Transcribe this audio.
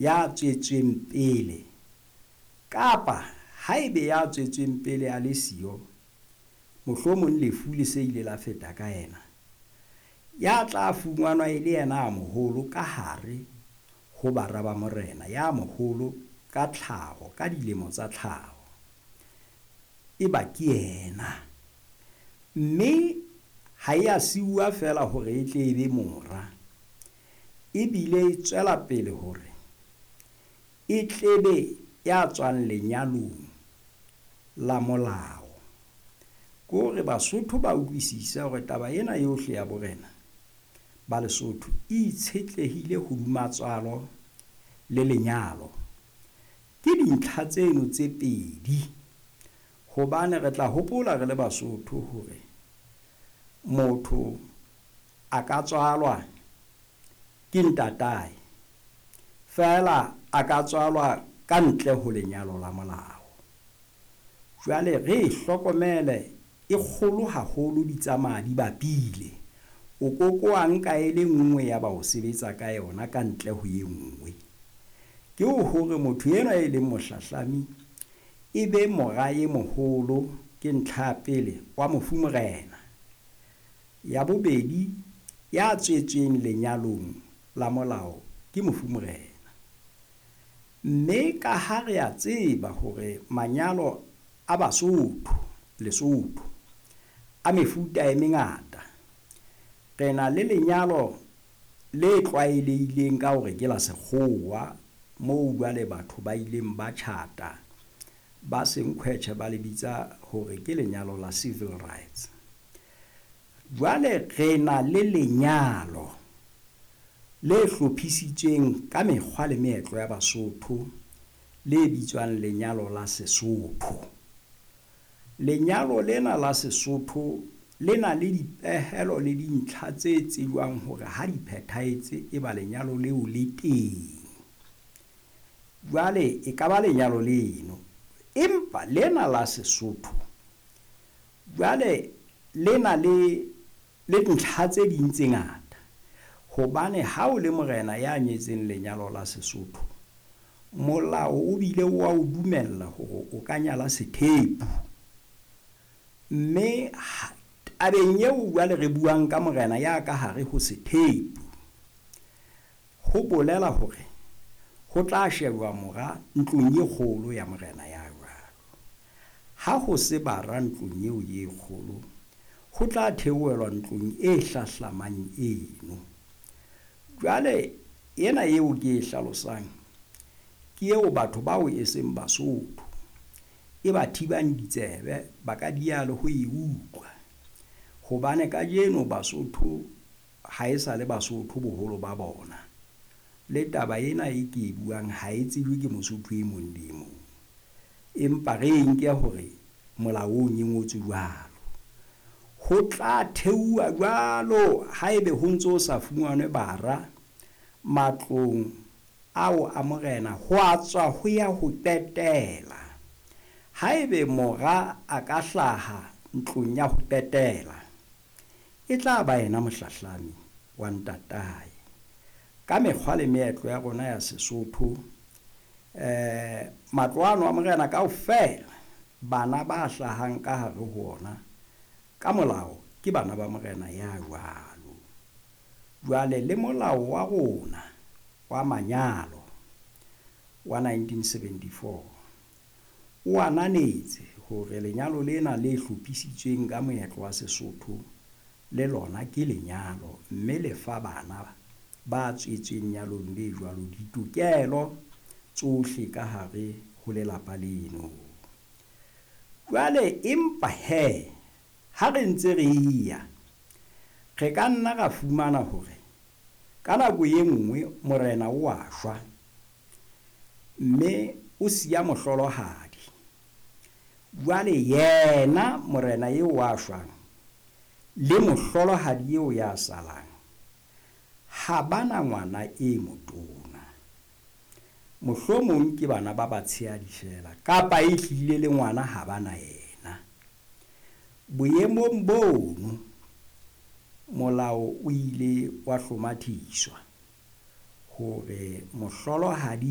Ya tswetsweng pele, kapa haebe ya tswetsweng pele a le siyo, mohlomong lefu le se ile la feta ka yena, ya tla fumanwa e le yena a moholo ka hare ho bara ba morena, ya moholo ka tlhaho, ka dilemo tsa tlhaho, eba ke yena. Mme ha e a siuwa feela hore e tle e be mora, ebile e tswela pele hore e tlebe ya tswang lenyalong la molao. Ke hore Basotho ba utlwisise hore taba ena yohle ya borena ba Lesotho e itshetlehile hodima tswalo le lenyalo. Ke dintlha tseno tse pedi, hobane re tla hopola re le Basotho hore motho a ka tswalwa ke ntatae, feela a ka tswalwa ka ntle ho lenyalo la molao. Jwale re e hlokomele, e kgolo haholo, di tsamaya di bapile. O koko wa nka e le nngwe ya ba o sebetsa ka yona ka ntle ho e nngwe. Ke hore motho enwa e leng mohlahlami e be mora e moholo, ke ntlha ya pele, wa mofu morena. Ya bobedi, ya tswetsweng lenyalong la molao ke mofu morena. Mme ka ha re a tseba hore manyalo a Basotho, Lesotho, a mefuta e mengata, re na le lenyalo le tlwaelehileng ka hore ke la sekgowa, moo jwale batho ba ileng ba tjhata, ba senkhwetjhe ba le bitsa hore ke lenyalo la civil rights. Jwale re na le lenyalo le hlophisitsweng ka mekgwa le meetlo ya Basotho, le bitswang lenyalo la Sesotho. Lenyalo lena la Sesotho le na le dipehelo le dintlha tse tsejwang hore ha di phethahetse e ba lenyalo leo le teng. Jwale e ka ba lenyalo leno, empa lena la Sesotho jwale le na le ntlha tse ding tse ngata, hobane ha o le morena ya nyetseng lenyalo la Sesotho, molao o bile wa o dumella hore o ka nyala sethepu. Mme tabeng eo jwale re buang ka morena ya ka hare ho sethepu, ho bolela hore ho tla shejwa mora ntlong e kgolo ya morena ya jwalo. Ha ho se bara ntlong eo e kgolo, ho tla theohelwa ntlong e hlahlamang eno. Jwale ena eo ke e hlalosang ke eo batho bao e seng Basotho e ba thibang ditsebe, ba ka dia le ho e utlwa. Hobane kajeno Basotho ha e sa le Basotho boholo ba bona. Le taba ena e ke e buang ha e tsejwe ke Mosotho e mong le e mong. Empa re e nke hore molaong e ngotswe jwalo. Ho tla theuwa jwalo haebe ho ntso sa fumanwe bara matlong ao a morena, ho a tswa ho ya ho qetela. Haebe mora a ka hlaha ntlong ya ho qetela, e tla ba yena mohlahlami wa ntatae. Ka mekgwa le meetlo ya rona ya Sesotho, matlo ano a morena kaofela, bana ba hlahang ka hare ho ona ka molao ke bana ba morena ya jwalo. Jwale le molao wa rona wa manyalo wa 1974 o ananetse hore lenyalo lena le hlophisitsweng ka moetlo wa Sesotho le lona ke lenyalo, mme le fa bana ba tswetsweng nyalong le jwalo ditokelo tsohle ka hare ho lelapa leno. Jwale empa he, ha re ntse re ya, re ka nna ra fumana hore ka nako e nngwe morena o a shwa, mme o siya mohlolohadi. Jwale yena morena eo a shwang le mohlolohadi eo ya salang ha bana ngwana e motona. Mohlomong ke bana ba batshehadi feela, kapa e hlile le ngwana ha bana yena. Boemong bono molao o ile wa hlomathiswa hore mohlolohadi